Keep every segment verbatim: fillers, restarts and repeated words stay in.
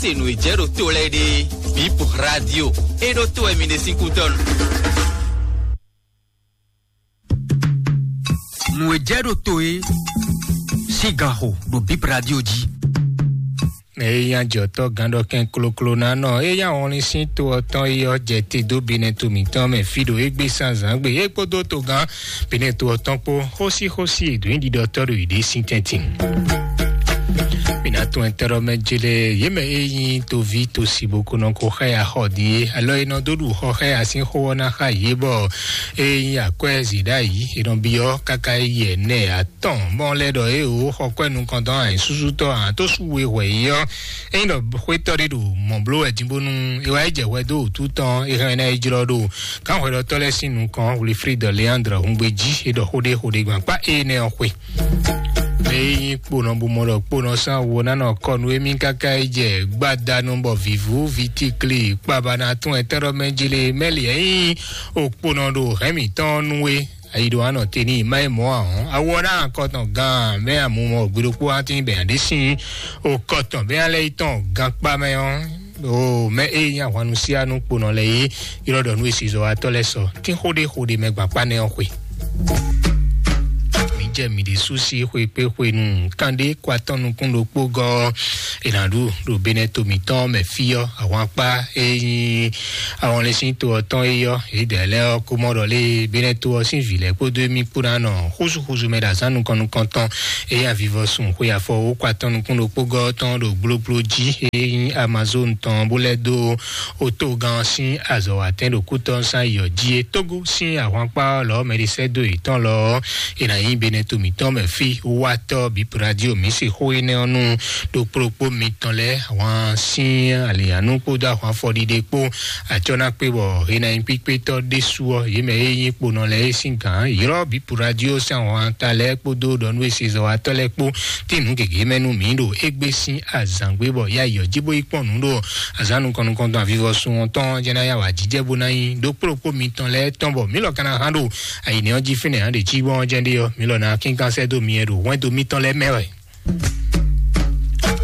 Se nǔ e jɛ ɖo to lɛ́ɛ ɖe, Bip Radio, e ɖo to wɛ mi ɖe sín kútɔ́ nu. Nǔ e jɛ ɖo to e sín gan xo ɖo Bip Radio jí. Eye nya jɔtɔ́ gán ɖɔ kɛn kloklo ná nɔ, eye nya wɔnlin sín to ɔ́ tɔn yi ɔ́ jɛ te dó binɛ to mǐtɔn mɛ fí ɖo égbé sanzǎn gbe, é kpódó togán binɛ to ɔ́ tɔn kpó, xósíxósí e dǒ nyi ɖiɖɔtɔ́ ɖo yě ɖě sín tɛ́ntin. Mǐ ná tún ɛtɛ́ɖɔ́ mɛ jélé yě mɛ e nyí toví tosi bó ko nɔ ko xá ya xɔ din é, alɔ e nɔ dó ɖu xɔ xá ya sín xó ɔ́ ná xá yě bɔ e nyí akwɛ́ zǐɖáyǐ e nɔ byɔ́ káká yi ɛnɛ atɔn mɔ lɛ́ ɖɔ é o xɔ kwɛ́ nukɔntɔn anyǐsúsútɔ́ ǎ tó sú we hwɛ yi ɔ́, é nyí ɖɔ xwétɔ́ ɖé ɖo mɔ̌ bló wɛ din bónú é wá yi jɛ hwɛ dó wǔtu tɔn é hɛn ná yi jlɔ́ ɖo gǎnhwɛɖɔtɔ́ lɛ́ɛ sín nukɔn Wilfrid Leandre hungbe jí é ɖɔ xó ɖé xó ɖé gbɔn kpá énɛ́ ɔ́ xwe. Mɛ e nyí kponɔ bó mɔ ɖɔ kponɔ sín awo ná nɔ kɔ nú émí káká yi jɛ gbadanu bɔ vǐvú vitíkli kpaba ná tún ɛtɛ́ɖɔ́ mɛ jí lé mɛ́li ɛ nyí okponɔ ɖo hɛ̌n mǐtɔn nú é. Ayi ɖo anɔ te ní má yi mɔ̌ ahɔn awo ɔ́ ná akɔtɔn gán mɛ amumɔ gbiɖokpó atín bɛ̌ ɖé sín okɔtɔn bɛ́ alɛ yi tɔn gankpá mɛ ɔ́. O mɛ e nyí ahwannu síá nú kponɔ lɛ́ɛ é ylɔ́ ɖɔ nú esizɔwatɔ́ lɛ́ɛ sɔ tín xó ɖé xó ɖé mɛ gbakpá nɛ́ ɔ́ xwe. Mǐ jɛ mǐ ɖésú sí xwekpéxwenu kanɖé kó atɔ́ nukún ɖokpó gɔ́ è nǎ ɖu ɖo Benɛto mǐtɔn mɛ fí ɔ́, ahwankpá e nyí ahɔnlɛ́nsín to ɔ́ tɔn é ɔ́, yědɛɛ lɛ́ɛ ɔ́ kó mɔ ɖɔ lé Benɛto ɔ́ sín vǐ lɛ́ɛ kpódó émí kpó ná nɔ xúzúxúzú mɛ ɖo azǎn nukɔn nukɔntɔn e nyí avivɔsun xwe afɔ wó kó atɔ́ nukún ɖokpó gɔ́ tɔn ɖo gblógbló jí e nyí Amazon tɔn bó lɛ́ dó otogán ɔ́ sín azɔ̌watɛ́n ɖo kútɔ́ sín ayǐ ɔ́ jí é. Tógó sín ahwankpá ɔ́ lɔ̌ mɛɖisɛ́dó yětɔn lɔ ɔ́, è nǎ nyí Benɛto mǐtɔn mɛ fí watɔ́ bǐ Puradio mǐ se xó énɛ́ ɔ́ nú ɖokpóɖokpó mitɔn lɛ́ɛ ahwan sín alǐnyanú kpódó ahwan afɔɖiɖe kpó. Acɔ́ ná kpé bɔ è nǎ nyí kpíkpétɔ́ ɖésú ɔ́, yě mɛ e nyí kponɔ lɛ́ɛ é sín gǎn ylɔ́ bǐ Puradio sín ahwan ta lɛ́ɛ kpódó ɖɔ nú esezɔ́watɔ́ lɛ́ɛ kpó tín nǔ gěgé mɛ nú mǐ ɖo égbé sín azǎn gbé bɔ yá yɔ jí bó yi kpɔ́n nǔ ɖo azǎn nukɔn nukɔntɔn avivɔsun ɔ́ tɔn jɛ́n ná yá wǎ jijɛ bó ná nyí ɖokpóɖokpó mitɔn lɛ́ɛ tɔn bɔ mǐ lɔ ka ná hán ɖo ayǐnɛ ɔ́ jí fínɛ́ hán ɖě cí gbɔn ɔ́ jɛ́n ɖé ɔ́, mǐ lɔ ná kínkan sɛ́ dó myɛ ɖo hwɛndo mitɔn lɛ́ɛ mɛ wɛ.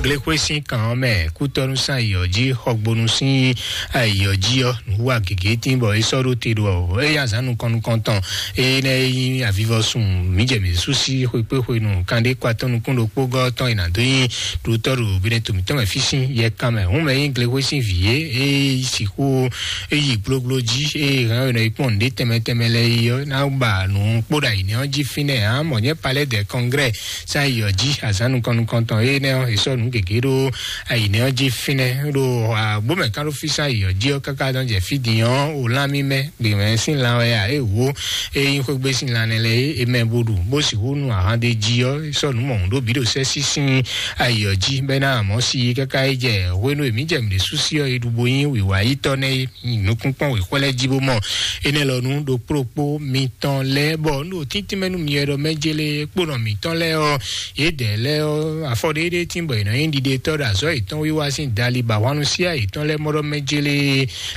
Glexwé sín kan ɔ́ mɛ kútɔ́nú sín ayǐ ɔ́ jí xɔgbónú sín ayǐ ɔ́ jí ɔ́, nǔ wa gěgé tín bɔ é sɔ́ ɖó te ɖo ɔ́, é yá azǎn nukɔn nukɔntɔn énɛ́ e nyí avivɔsun mǐ jɛ mǐ sú sí xwekpéxwenu kanɖé kó atɔ́ nukún ɖokpó gɔ́ tɔn e nǎ dó nyí ɖutɔ́ ɖo Benɛto mǐtɔn mɛ fí sín yɛkan mɛ. Hǔn mɛ nyí Glexwé sín vǐ é, é sixú é yi gblógbló jí, é hɛn ɔ́ è nɔ yi kpɔ́n nǔɖé tɛnmɛ tɛnmɛ lɛ́ɛ yi ɔ́, ná ba nǔ kpó ɖo ayǐnɛ ɔ́ jí fínɛ́ ǎ, mɔ̌ nyɛ Palais des Congrès sín ayǐ ɔ́ jí azǎn nukɔn nukɔntɔn énɛ́ ɔ́, è sɔ́ nǔ gěgé ɖó ayǐnɛ ɔ́ jí fínɛ́ ɖo agbómɛkánɖófí sín ayǐ ɔ́ jí ɔ́, káká nɔ jɛ fí din ɔ́, o lán mímɛ́ gběmɛ sín lan wɛ ǎ, é wǒ é nyí xwégbé sín lan nɛ́ lɛ́ɛ é, é mɛ bó ɖu bó sixú nu ahan ɖé jí ɔ́, é sɔ́ nǔ mɔ̌hun ɖó bǐ ɖo sɛ́ sín sín ayǐ ɔ́ jí, bɔ é ná mɔ̌ si káká é jɛ hwenu e mǐ jɛ mǐ ɖésú sí ɔ́, é ɖu bo nyí wǐwá yítɔ́ nɛ́ é. Nukúnkpɔ́n wěxwɛ́ lɛ́ɛ jí bó mɔ énɛ́ lɔ nú ɖokpóɖokpó mitɔn lɛ́ɛ, bɔ un ɖo tíntín mɛ nú mi wɛ ɖɔ mɛ jélé kponɔ mǐtɔn lɛ́ɛ ɔ́, yědɛɛ lɛ́ɛ ɔ́, afɔ ɖéɖéé tín bɔ è nɔ nyí ɖiɖetɔ́ ɖo azɔ̌ yětɔn wiwa sín dali ba hwannu síá yětɔn lɛ́ɛ mɔ ɖɔ mɛ jélé.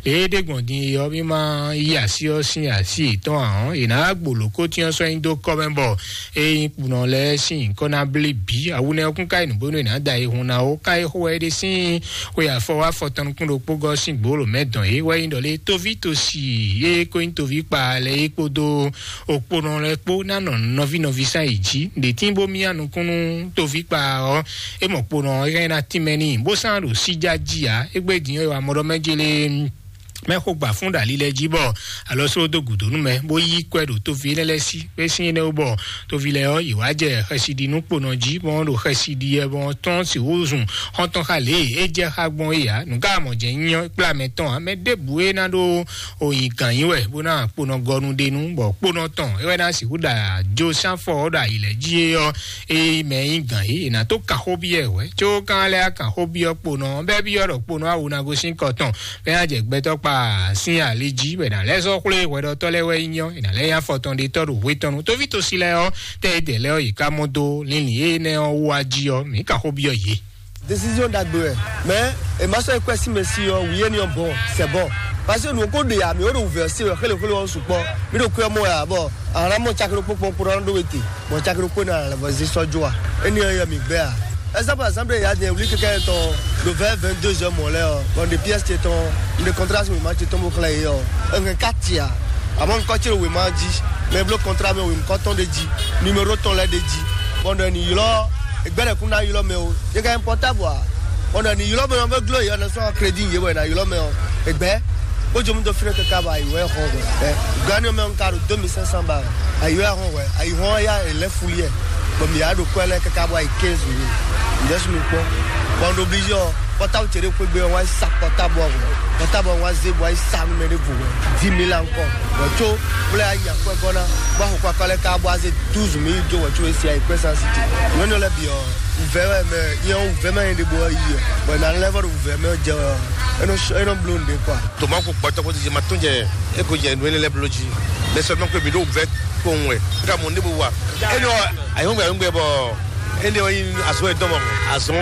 Lě e é ɖe gbɔn din é ɔ́, mí ma yí así ɔ́ sín así yětɔn ǎ ɔ́, è nǎ wá gbo lǒkótín ɔ́ sɔ́ nyi dó kɔ́ mɛ bɔ é nyí kpunɔ lɛ́ɛ sín nyǐkɔ ná blí bǐ. Awunɛ ɔ́ kún ka yi nǔ bónú è nǎ da yi hun ná ó, ká é xo wɛ é ɖe sín xwe afɔ wá afɔ tɔn nukún ɖokpó gɔ́ sín gbǒ lǒ mɛ dɔn é wɛ nyí ɖɔ lé tóví tosi e ko nyí tóví kpa lɛ́ɛ é kpódó okponɔ lɛ́ɛ kpó ná nɔ nɔví nɔví sán yi jí. Ɖě tín bó myá nukún nú tóví kpa ɔ́, é mɔ kponɔ ɔ́ hɛn ná tínmɛ n'i bó sán ɖo síjá jí ǎ. Égbé din ɔ́, è wǎ mɔ ɖɔ mɛ jélé mɛ xó gbà fún ɖo ali lɛ́ɛ jí bɔ alɔ só dó gǔdo nú mɛ, bó yí kwɛ ɖo tóvi lɛ́ɛ lɛ́ɛ sí. Bó sín énɛ́ wú bɔ tóvi lɛ́ɛ ɔ́, yě wá jɛ xɛsi ɖi nú kponɔ jí, bɔ ɖo xɛsi ɖi wɛ, bɔ tɔ́n sixú zun xɔ́ntɔn xa lě e é jɛ xá gbɔn é ǎ. Nǔ ka mɔ jɛ nyí ɔ́, kplá mɛ tɔn ǎ. Mɛ ɖěbǔ e ná ɖó oyi gǎn nyi wɛ, bó ná kponɔ gɔnu ɖe nú, bɔ kponɔ tɔn é wɛ ná sixú ɖo ajo sín afɔ ɔ́ ɖo ayi lɛ́ɛ jí é ɔ́, é mɛ nyí gǎn é, è nǎ tó kan xó byɔ́ ɛ wɛ. Có kan lɛ́ɛ kan xó byɔ́ kponɔ ɔ́, bɛ́ byɔ́ ɖɔ kponɔ awu ná gosín kɔ tɔn bɔ é ná jɛ gbɛtɔ́ kpa sín ali jí, bɔ è nǎ lɛ́ sɔ́ xwlé hwɛɖɔtɔ́ lɛ́ɛ wɛ nyí ɔ́, è nǎ lɛ́ nyí afɔ tɔn ɖetɔ́ ɖo hwe tɔn nu. Tóví tosi lɛ́ɛ ɔ́, tɛ́ yědɛɛ lɛ́ɛ ɔ́, yě ká mɔ dó linlin énɛ́ ɔ́ wú wá jí ɔ́, mǐ ka xó byɔ́ yě. Décision ɖagbe wɛ, mais e ma sɔ́ yi kwɛ́ sí mɛ sí ɔ́, wǐ éní ɔ́ bɔn, c'est bon. Parce que nǔ ko ɖe ya, mǐ wo ɖo wǔvɛ́ ɔ́ se wɛ xélé xélé ɔ́ sukpɔ́. Mǐ ɖo kwɛ́ mɔ ya, bɔ a nǎ mɔ caki ɖokpó kpɔ́n kpó ná ɖó we te, bɔ caki ɖokpó ná lɛ́ vɔ zé sɔ́ jó a? Éní ɔ́ yɛ mǐ gbɛ́ a? Exemple, exemple ya din wuli keke tɔn do vingt vingt-deux heures mɔ lɛ ɔ, bon de pièce te tɔn, de contrat si ma te tɔn bo xlɛ ye ɔ, un ka tia. Amɔ un kɔtsi wema ji, mais blo contrat mɛ wem kɔtɔn de ji, numéro tɔn lɛ de ji. Bon de ni ylɔ, egbɛ de kun na ylɔ mɛ o. Ye ka important bɔ. Bon de ni ylɔ mɛ ɔ be glo ye ɔ na sɔ crédit ye wɛ na ylɔ mɛ ɔ. Egbɛ, ko jom do fine keke ba yi wɛ xɔ. Gani mɛ un ka do deux mille cinq cents ba. Ayi wɛ xɔ wɛ, ayi xɔ ya e lɛ fuli ɛ. Bon mi ya do kwɛ lɛ keke ba yi quinze mille. Ndɛ su mi kpɔ. Bon do obligé ɔ, portable tse de kwe gbe ɔ wa sa portable ɔ. Portable ɔ wa ze bo wa sa nu mɛ de vo wɛ. Dix mille encore. Bon tso, bo lɛ ya yi akwɛ gɔ na. Bo xɔ kwa kɔ lɛ ka bo wa ze douze mille jo wɛ tso esi ayi kwɛ sa si ti. Nyɔnu lɛ bi ɔ, vɛ wɛ mɛ, nyɛ vɛ mɛ de bo yi ɔ. Bon na lɛ vɔ do vɛ mɛ jɛ ɔ. Eno eno blo nde kwa. Toma ko kpɔtɔ ko jɛ ma tɔn jɛ, e ko jɛ nú ele lɛ blo jí. Mais seulement que mi ɖo vɛ kpɔn wɛ. Ka mo ne bo wa. Ele wa ayɔngbɛ ayɔngbɛ bɔ ele wa yin azɔ e dɔn bɔ azɔ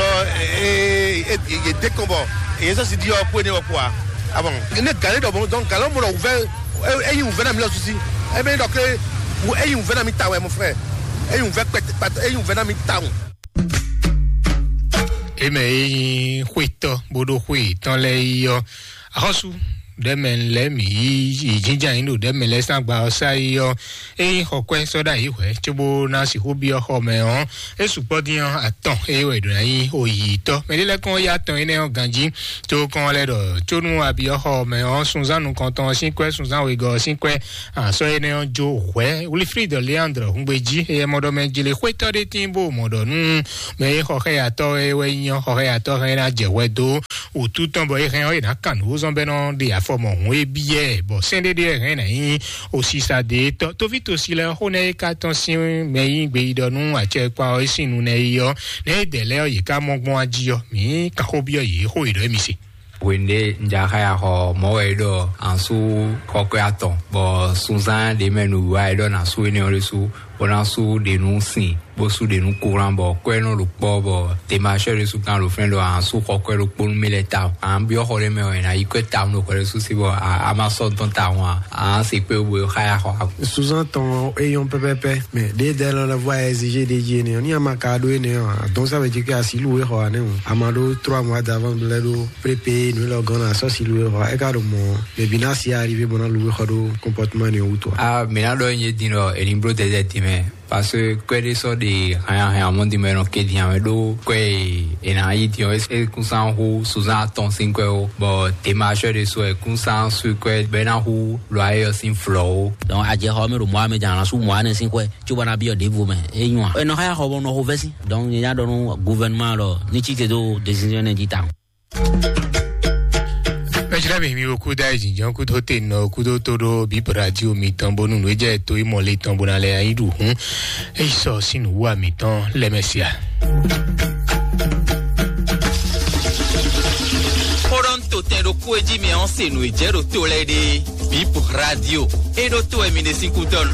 e e de kɔn bɔ e sɔ si di ɔ ko ne wa kwa. Ah bon. Ne gale dɔ bon, donc gale mo lɔ vɛ e yin vɛ na mi lɔ susi. E be dɔ ke e yin vɛ na mi ta wɛ, mon frère. E yin vɛ kpɛtɛ kpɛtɛ, e yin vɛ na mi ta wɛ. Eme e nyí xwetɔ́ bó ɖó xwe yětɔn lɛ́ɛ yi ɔ́, axɔ́sú ɖɛ̌ mɛ lɛ́ɛ mǐ yí yi jínjɔ́n ayǐ ɖo ɖɛ̌ mɛ lɛ́ɛ sín agba ɔ́ sá yi ɔ́, é nyí xɔkwɛ́ sɔ́ ɖ'ayǐ hwɛ̌ cóbó ná sixú byɔ́ xɔ mɛ ɔ́, é sukpɔ́ dín ɔ́ atɔn é wɛ è ɖǒ ná nyí oyǐtɔ́. Mɛ ɖé lɛ́ɛ kɔn yá atɔn énɛ́ ɔ́ ganjí, có kɔn lɛ́ ɖɔ có nú a byɔ́ xɔ mɛ ɔ́, sunzán nukɔntɔn ɔ́ sín kwɛ́, sunzán wegɔ́ ɔ́ sín kwɛ́, asɔ́ énɛ́ ɔ́ jó hwɛ̌. Wilfrid Leandre hungbe jí, éyɛ́ mɔ ɖɔ mɛ jlé xwétɔ́ ɖé tín bó mɔ ɖɔ nú mɛ e xɔ xɛyatɔ́ e wɛ nyí ɔ́, xɔ xɛyatɔ́ hɛn ná jɛ hwɛ dó wǔtu tɔn bɔ é hɛn ɔ́, è nǎ kan nǔ zɔ́n bɔ é nɔ ɖe afɔ mɔ hǔn é byɔ́ ɛ, bɔ sɛ́n ɖé ɖé hɛn ná nyí osisa ɖe tɔ́. Tovítɔ́si lɛ́ɛ xó nɛ́ é ka tɔ́n sín mɛ yí gbeyíɖɔ nú acɛkpa ɔ́ é sín nu nɛ́ yi ɔ́, nɛ́ é dɛ lɛ́ɛ ɔ́, yě ká mɔ gbɔn ají ɔ́, mǐ kan xó byɔ́ yě xó e ɖɔ émí se. Hwenu ɖé un ja xá ya xɔ mɔ̌ wɛ é ɖɔ an sú xɔkwɛ atɔn, bɔ sunzán ɖě mɛ nǔwiwa é ɖɔ ná sú énɛ́ ɔ́ ɖésú, bó ná sú ɖě nú sin, bó sú ɖě nú kúran, bɔ kwɛ́ nɔ ɖo kpɔ́, bɔ demasɔ ɖésú kan ɖo fɛ́n ɖɔ an sú xɔkwɛ ɖokpó nú mì lɛ́ɛ tawun. An byɔ́ xɔ ɖé mɛ wɛ è nǎ yi kwɛ́ tawun ɖo xɔ ɖésú sí, bɔ a ma sɔ́ dɔn tawun a, an se kpé bo xá ya xɔ. Sunzán tɔn ɔ́, é nyɔ́ pɛ́pɛ́pɛ́, mɛ ɖědɛɛ lɔ lɛ́ vɔ a exige ɖ'é jí énɛ́ ɔ́, ní a ma ka ɖó énɛ́ ɔ́, a dɔn sá vɛ jí kí a sǐ lǔwe xɔ ǎ nɛ́ o. A ma ɖó trois mois d'avance lɛ́ ɖó prépé nǔ élɔ́ gɔ́n ná sɔ́ sǐ lǔwe xɔ ǎ. É ka ɖo mɔ̌, mɛ bǐ ná si arrivé bó ná lǔwe xɔ ɖó comportement énɛ́ ɔ́ wútu ǎ. A mǐ ná ɖɔ nyí din ɖɔ è ní bló dɛdɛ din mɛ, parce que kwɛ́ ɖé sɔ́ ɖe hanyahanya mɔ̌ din mɛ nɔ ke din ǎ mɛ ɖó kwɛ́ e è nǎ yí din ɔ́, é kún sán hú suzán atɔn sín kwɛ́ ó, bɔ demarcheur ɖé sɔ́ è kún sán sú kwɛ́ bɔ é ná hú lɔ ayé ɔ́ sín flɔ̌ ó. Donc, a jɛ xɔ mɛ ɖo mɔ̌ ame jǎn ná sú mɔ̌ anɛ sín kwɛ́, cóbɔ ná byɔ́ ɖěvo mɛ. É nyɔ́ a? È nɔ xá ya xɔ bɔ nɔ xo vɛ́ sí. Donc, nyɛ nya ɖɔ nú gouvernement lɔ ní cí te dó décision nɛ jí tawun. Mɛjlɛ́ mi, mi wo kúdó ayé jǐnjɔ́n kúdó te nɔ kúdó tó ɖó bíp radio mitɔn bónú nǔ e jɛ tó yi mɔ le tɔn bó ná lɛ ayé ɖu hǔn. É yi sɔ sín nǔwú mitɔn lɛ́ mɛ sia. Xó ɖɔ ń tò tɛn ɖokpó e jí mi ɔ́ se nǔ e jɛ ɖo to lɛ́ɛ ɖe. Bíp radio. É ɖó tó wɛ mi ɖe sín kútɔ́ nu.